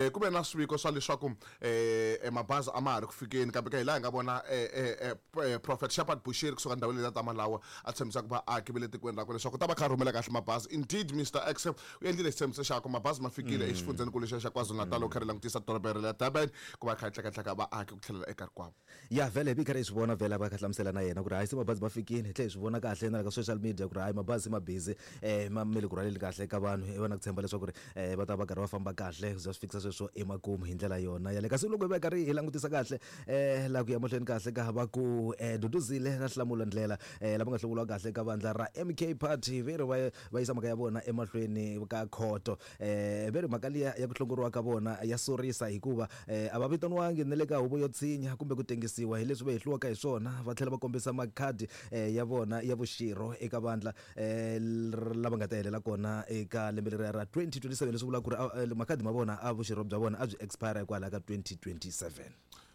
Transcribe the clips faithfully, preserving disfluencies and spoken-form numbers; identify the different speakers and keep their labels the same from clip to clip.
Speaker 1: eh, ku ve na swiviko swa leswaku eh, eh, mabazi a ma ha ri ku fikeni, kambe ka hi laha hi nga vona eh, eh, eh, Prophet Shepherd Bushiri kusuka ndhawini leyi ta Malawi a tshembisa ku vaaki va le tikweni rakwe leswaku ta va kha rhumela kahle mabazi. Indeed, Mister X u endlile xitshembiso xakwe, mabazi ma fikile exifundzhenikulu xa xa KwaZulu-Natal, u kha ri langutisa doroba ra Durban ku va kha yi tlekatleka vaaki ku tlhelela eka rikwavo.
Speaker 2: Ya, vhele hi karhi hi swi vona, vhele va kha hlamusela na yena ku ri hayi, se mabazi ma fikile. Hi tlhela hi swi vona kahle na le ka social media ku ri hayi, mabazi ma busy, um ma me le ku rhwaleni kahle ka vanhu. Hi va na ku tshemba leswaku ri um va ta va karhi va famba kahle ku za swi fikisa sweswo emakumu hi ndlela yona yale. Kasi loko hi va karhi hi langutisa kahle um laha ku ya mahlweni kahle ka va ku um Duduzile na Hlamula Ndlela um lava nga hlawuriwa kahle ka vandla ra M K Party, ve ri va va yisa mhaka ya vona emahlweni ka khoto. um ve ri mhaka liya ya ku hlongoriwa ka vona ya sorisa, hikuva um a va vitaniwangi na le ka huvo yo tshinya kumbe ku tengisiwa hi leswi va hehliwaka hi swona. Va tlhela va kombisa makhadi um ya vona ya vuxirho eka vandla um lava nga ta helela kona eka lembe leriya ra twenty twenty-seven, leswi vulaka ku ri makhadi ma vona a vuxirho bya vona a byi expire hikwalaho ka twenty twenty-seven.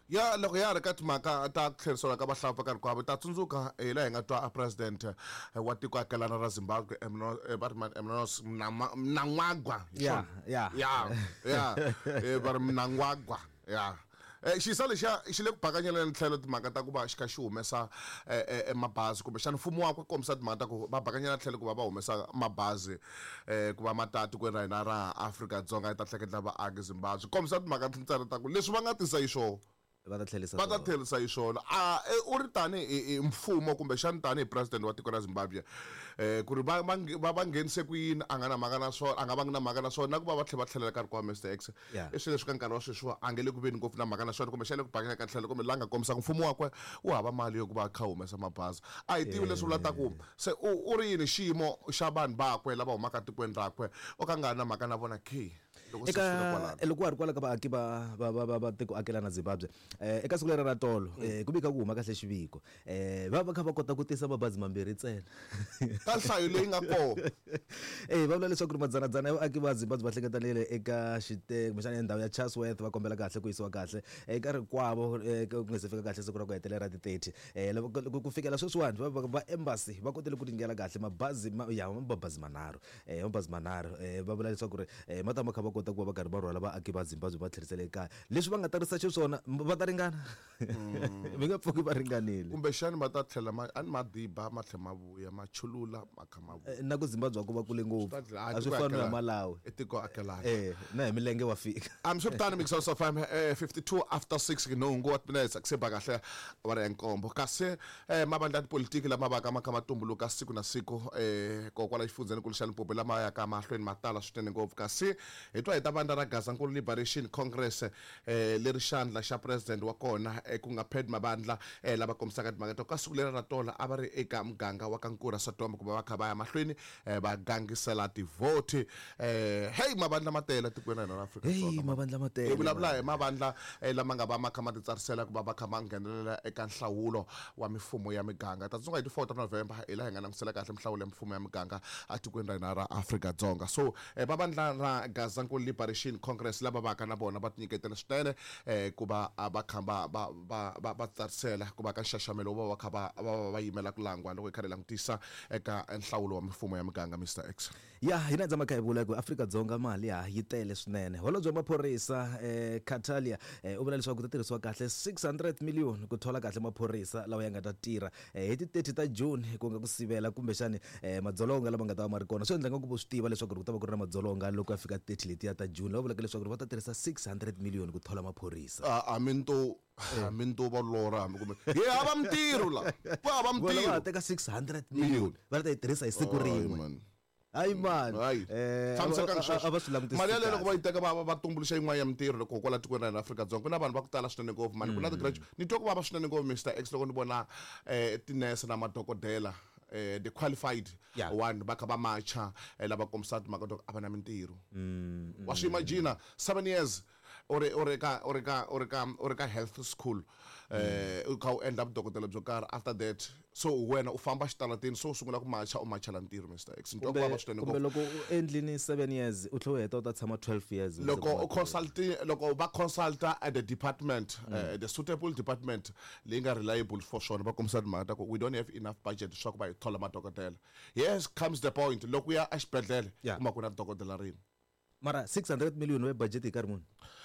Speaker 1: Ya, loko ya ha ri ka timhaka ta ku tlheriseriwa ka vahlampfa ka rikwavo, ta tsundzuka hi laha hi nga twa a president wa tiko akelana ra Zimbabwe, va ri mani, Mnangagwa.
Speaker 2: Ya, ya.
Speaker 1: ya ya va ri Mnangagwa ya. Eh, xisa lexiya xi le ku bakanyeleni tlhelo timhaka ta ku va xi kha xi humesa mabazi, kumbexana mfumo wakwe kombisa timhaka ta ku va bakanyela tlhelo ku va va humesa mabazi um ku va ma ta tikweni ra hina ra Afrika-Dzonga yi ta tleketla vaaki Zimbabwe. Kombisa timhaka ntsena ta ku leswi va nga tisa hi swona
Speaker 2: va ta tlherisa
Speaker 1: va ta tlherisa hi swona. A u ri tani hi mfumo, kumbexani tani hi president wa tiko ra Zimbabwe, um ku ri va va va va nghenise ku yini, a nga na mhaka na swona, a nga vangi na mhaka na swona, na ku va va tlhela va tlhelela ka rikwavo, Mister X, i swilo leswi ka nkarhi wa sweswiwa a nge le ku veni ngopfu na mhaka na swona, kumbexana le ku bakela ka tlhelo, kumbe la nga kombisaka mfumo wakwe wu hava mali yo ku va kha humesa mabazi. A hi tivi leswi vula ta ku se u u ri yini xiyimo xa vanhu vakwe lava humaka tikweni rakwe, o ka nga ri na mhaka na vona ke
Speaker 2: loko se swi fika kwalano. Eka loko wa ha ri kwala ka vaaki va va va va va tiko akelana Zimbabwe, eh eka siku leri ra tolo eh ku vika ku huma kahle xiviko, eh va va kha va kota ku tisa mabazi mambirhi ntsena
Speaker 1: ka nhlayo leyi nga kona.
Speaker 2: Eh va vula leswaku ri madzanadzana ya vaaki va Zimbabwe va hlengetanile eka xite kumbexana endhawu ya Chatsworth, va kombela kahle ku yisiwa kahle eka rikwavo ku nga se fika kahle siku ra ku hetelela ra ti thirty. eh loko ku fikela sweswiwani va va embassy va kotile ku tingela kahle mabazi ya mabazi manharhu, eh mabazi manharhu. eh va vula leswaku ri ma ta ma kha va kota ku va va karhi va rhwala vaaki va Zimbabwe va tlherisela ekaya. Leswi va nga tarisa xiswona, va ta ringana, mi nga pfuki va ringanile.
Speaker 1: Kumbexani va ta tlhela ma a ni madiba ma tlhela ma vuya, ma chulula, ma kha ma vuya.
Speaker 2: Na ku Zimbabwe ku va kule ngopfu, a swi fani na Malawi.
Speaker 1: I tiko akelana.
Speaker 2: Eh na hi milenge wa fika.
Speaker 1: Hambiswiritano, Mixer of F M, eh fifty-two after six, nhungu wa minutes ku se ba kahle awara ya nkombo. Kasi eh mavandla ya tipolitiki lama vaka ma kha ma tumbuluka siku na siku eh kokwala xifundzhenikulu xa Limpopo, lama yaka mahlweni ma tala swinene ngopfu. Kasi hi twa hi ta vandla ra Gazankulu Liberation Congress, eh leri xandla xa president wa kona eh, ku nga Pat Mabandla, eh lava kombisaka timhaka ta ka siku leri ra tola a va ri eka muganga wa ka Nkura Sodoma ku va va kha va ya mahlweni eh, va gangisela tivhoti. eh hey mavandla ma tele tikweni ra hina ra Afrika
Speaker 2: Hey, Dzonga. Mavandla ma tele,
Speaker 1: Hi vulavula hi mavandla eh, lama nga va ma kha ma titsarisela ku va va kha ma nghenelela eka nhlawulo wa mifumo ya miganga. Ta tsundzuka hi ti four ta November hi laha hi nga langutisela kahle minhlawulo ya mifumo ya miganga etikweni ra hina ra Afrika Dzonga. So eh, va vandla ra Gazankulu Liberation Congress lava vaka na vona va tinyiketela swinene eh, ku va ah, va kha va va va va va tsarisela ku va ka nxaxamelo wo va va kha va va va va yimela ku langwa loko hi karhi hi langutisa eka nhlawulo wa mifumo ya miganga, Mister X.
Speaker 2: Ya, hina dzama kha hi vula ku Afrika-Dzonga mali ya yi tele swinene. Holobye wa maphorisa eh, Katalia eh, u vula leswaku ku ta tirhisiwa kahle six hundred million ku thola kahle maphorisa lawa ya nga ta tirha eh, hi ti thirty ta June, ku nga ku sivela kumbexani eh, madzolonga lama nga ta va ma ri kona. Swi endla nga ku vo swi tiva leswaku ku ta va ku ri na madzolonga loko ya fika thirty letiya ta June, lava vulaka leswaku va ta tirhisa six hundred million ku thola maphorisa.
Speaker 1: A mi nto hambi nto va lorha, hambi kumbe hi hava mintirho la, ku hava
Speaker 2: vona va
Speaker 1: mintirho.
Speaker 2: Ha teka six hundred million va ta yi tirhisa hi siku
Speaker 1: Hayi,
Speaker 2: rin'we.
Speaker 1: Man.
Speaker 2: Hayi mani.
Speaker 1: Hayi.
Speaker 2: Eh,
Speaker 1: Tshamisekanga
Speaker 2: a- a-
Speaker 1: sweswo.
Speaker 2: A va swi langutisi
Speaker 1: Mali yaleyo loko va
Speaker 2: kahle.
Speaker 1: yi teka va va- va tumbuluxa yin'wana ya mintirho, loko kwala tikweni ra hina Afrika-Dzonga ku na vanhu va ku tala swinene ngopfu mani, ku na ti-graduate. Ni twa ku vava swinene ngopfu, Mister X, loko ni vona um tinese na madokodela, eh the qualified
Speaker 2: Yeah.
Speaker 1: one, va kha va macha eh, lava kombisa timhaka to a va na mintirho. Wa swi imagine seven years u ri u ri ka u ri ka u ri ka u ri ka health school, eh u kha u endla vudokodela byo karhi, after that so wena u famba xitarateni, so u sungula ku macha, u machela ntirho, Mister X? Ni twa ku vava
Speaker 2: kumbe
Speaker 1: swinene
Speaker 2: kumbe
Speaker 1: ngopfu.
Speaker 2: Loko u endlini seven years, u tlhela u heta u ta tshama twelve years u
Speaker 1: Loko
Speaker 2: kuma
Speaker 1: u consult, loko va consulta at the department, uh, the suitable department leyi nga reliable for swona, va kombisa timhaka ta ku we don't have enough budget leswaku va hi thola madokodela. Yes, comes the point loko u ya exibedhlele
Speaker 2: Yeah.
Speaker 1: kuma ku na dokodela rin'we.
Speaker 2: Mara six hundred million wa budget hi nkarhi muni?